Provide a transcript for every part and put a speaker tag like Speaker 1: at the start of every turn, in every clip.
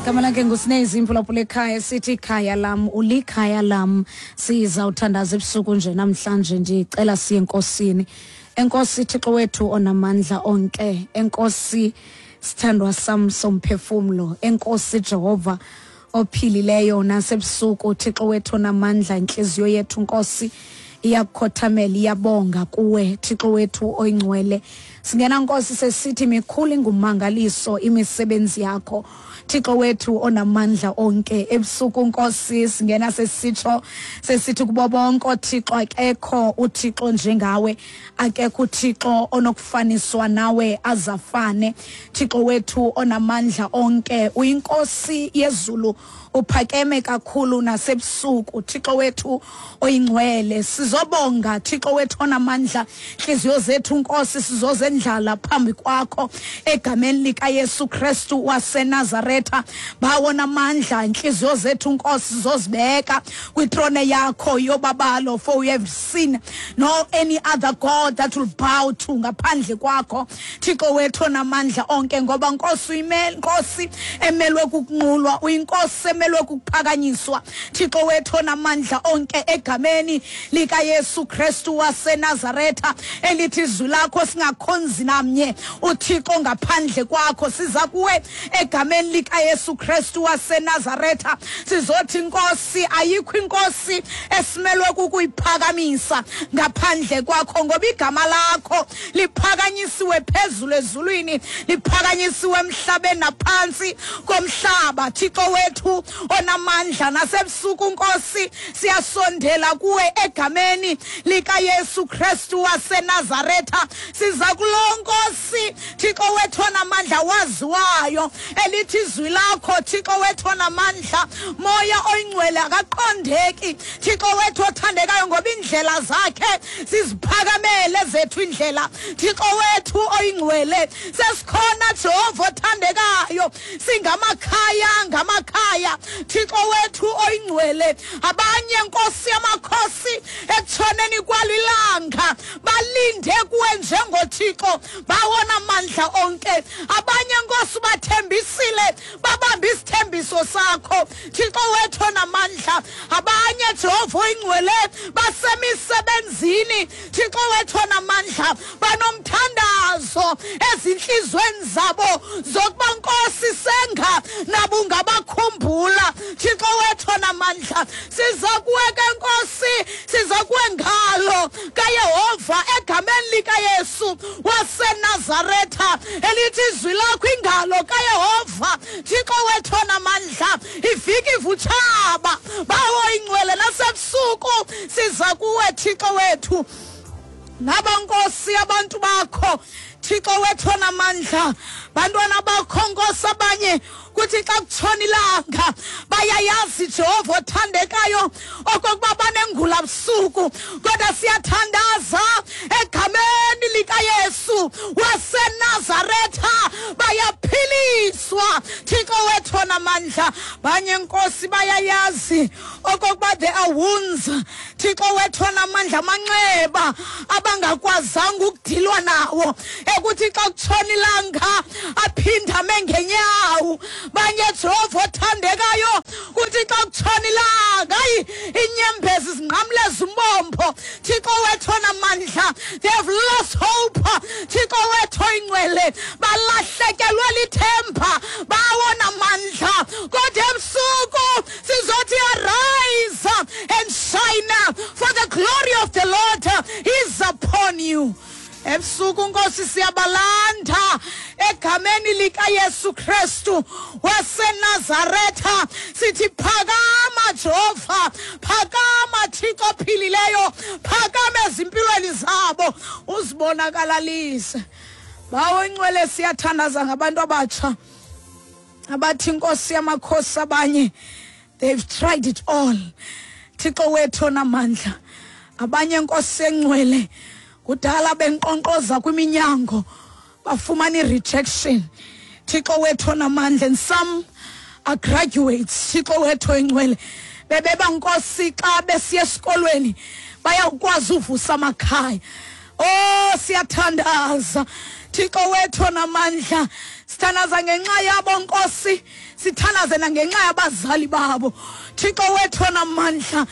Speaker 1: Igama lakhe nguSnezi imphulaphula ekhaya, sithi ikhaya lam, ulikhaya lam. Sizawuthandaza ebusuku nje namhlanje, ndicela siye enkosini. Enkosi Thixo wethu onamandla onke, enkosi sithandwa sam somphefumlo, enkosi Jehova ophilileyo nasebusuku. Thixo wethu onamandla, intliziyo yethu Nkosi iyakukhothamela, iyabonga kuwe Thixo wethu oyingcwele. Singena Nkosi sesithi mikhulu ingumangaliso imisebenzi yakho Thixo wethu onamandla onke. Ebusuku Nkosi singena sesitsho sesithi kubo bonke oThixo akekho uThixo njengawe, akekho uThixo onokufaniswa nawe azafane. Thixo wethu onamandla onke, uyinkosi yezulu, uphakeme kakhulu nasebusuku. Thixo wethu oyingcwele, sizobonga Thixo wethu onamandla. Intliziyo zethu Nkosi sizozendlala phambi kwakho egameni likaYesu Kristu waseNazaretha. Bawo namandla, intliziyo zethu Nkosi sizozibeka kwitrone yakho yobabalo, for we have seen no any other God that will bow to ngaphandle kwakho Thixo wethu onamandla onke. Ngoba Nkosi uyimele, Nkosi emelwe kukunqulwa, uyinkosi emelwe kukuphakanyiswa Thixo wethu onamandla onke, egameni likaYesu Kristu waseNazaretha, elithi izwi lakho singakhonzi namnye uThixo ngaphandle kwakho. Siza kuwe egameni likaYesu Kristu waseNazaretha, sizothi Nkosi ayikho inkosi esimelwe kukuyiphakamisa ngaphandle kwakho, ngoba igama lakho liphakanyisiwe phezulu ezulwini, liphakanyisiwe emhlabeni naphantsi komhlaba. Thixo wethu onamandla, nasebusuku Nkosi siyasondela kuwe egameni likaYesu Kristu waseNazaretha. Siza kulo Nkosi Thixo wethu onamandla waziwayo, elithi izwi lakho Thixo wethu onamandla, Moya oyingcwele akaqondeki Thixo wethu othandekayo, ngoba iindlela zakhe siziphakamele zethu indlela. Thixo wethu oyingcwele, sesikhona Jehova othandekayo, singamakhaya ngamakhaya Thixo wethu oyingcwele. Abanye Nkosi yamakhosi ekutshoneni kwalo ilanga balinde kuwe njengoThixo bawona mandla onke. Abanye Nkosi bathembisile, babambe isithembiso sakho Thixo wethu onamandla. Abanye Jehova oyingcwele basemisebenzini Thixo wethu onamandla, banomthandazo ezintliziyweni zabo zokuba Nkosi senga nabo ungabakhumbula Thixo wethu onamandla. Siza kuwe ke Nkosi, siza kuwe ngalo kaYehova egameni likaYesu waseNazaretha, elithi izwi lakho ingalo kaYehova Thixo wethu onamandla iviki ivutshaba. Bawo ingcwele, nasebusuku siza kuwe Thixo wethu. Naba Nkosi abantu bakho Thixo wethu onamandla, bantwana bakho Nkosi, abanye kuthi xa kutshona ilanga bayayazi Jehova othandekayo okokuba banengula busuku, kodwa siyathandaza egameni likaYesu waseNazaretha bayaphiliswa Thixo wethu onamandla. Banye Nkosi bayayazi okokuba there are wounds Thixo wethu onamandla, amanxeba abangakwazanga ukudilwa nawo, ekuthi xa kutshona ilanga aphinde ame ngenyawo. Banye Jehova othandekayo kuthi xa kutshona ilanga hayi inyembezi zinqamleza umbombo Thixo wethu onamandla. They have lost hope Thixo wethu oyingcwele, balahlekelwe lithemba bawona mandla, kodwa ebusuku sizothi arise and shine, for the glory of the Lord is upon you. Ebusuku Nkosi siyabalanda egameni likaYesu Kristu waseNazaretha, sithi phakama Jehova, phakama Thixo ophilileyo, phakama ezimpilweni zabo uzibonakalalise. Bawo ingcwele, siyathandaza ngabantu abatsha abathi Nkosi yamakhosi abanye they've tried it all Thixo wethu onamandla. Abanye Nkosi engcwele kudala benkqonkqoza kwiminyango bafumana i-rejection Thixo wethu onamandla, and some are graduates Thixo wethu oyingcwele, bebeba Nkosi xa besiya esikolweni bayawukwazi uvusa amakhaya. Oh, siyathandaza Thixo wethu onamandla.
Speaker 2: Sithandaza ngenxa yabo Nkosi, sithandaze nangenxa yabazali babo. Thixo wethu onamandla,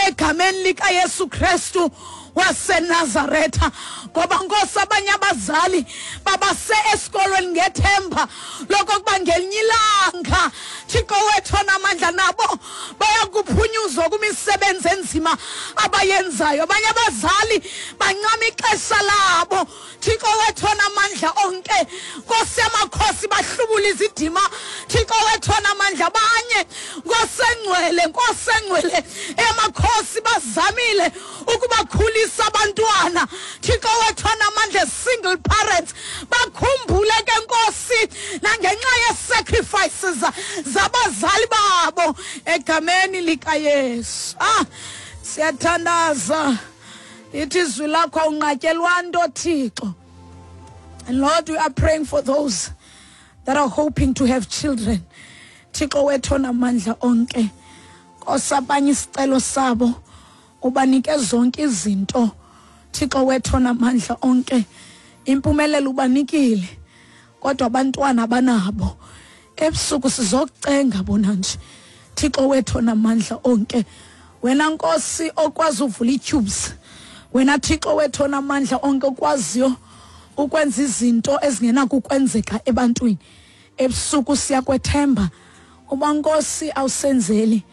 Speaker 2: egameni likaYesu Kristu waseNazaretha, ngoba Nkosi abanye abazali babase esikolweni ngethemba lokokuba ngelinye ilanga, Thixo wethu onamandla, nabo bayakuphunyuzwa kwimisebenzi enzima abayenzayo. Abanye abazali bancama ixesha labo, Thixo wethu onamandla onke, Nkosi yamakhosi, bahlubula izidima, Thixo wethu onamandla. Abanye, Nkosi engcwele, Nkosi engcwele emakhosi, bazamile ukubakhulisa abantwana, Thixo wethu onamandla, single parents. Bakhumbule ke Nkosi nangenxa ye-sacrifices zabazali babo, egameni likaYesu. Siyathandaza, ithi izwi lakho awunqatyelwa nto, Thixo. And Lord, we are praying for those that are hoping to have children. Thixo wethu onamandla onke, Nkosi, abanye isicelo sabo ubanike zonke izinto, Thixo wethu onamandla onke, impumelelo ubanikile, kodwa abantwana banabo. Ebusuku sizokucenga bona nje, Thixo wethu onamandla onke, wena Nkosi okwazi uvula ii-tubes, wena Thixo wethu onamandla onke okwaziyo ukwenza izinto ezingenakukwenzeka ebantwini. Ebusuku siyakwethemba uba Nkosi awusenzeli,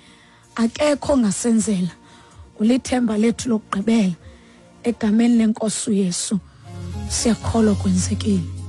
Speaker 2: akekho ongasenzela, ulithemba lethu lokugqibela. Egameni lenkosi uYesu siyakholwa kwenzekile.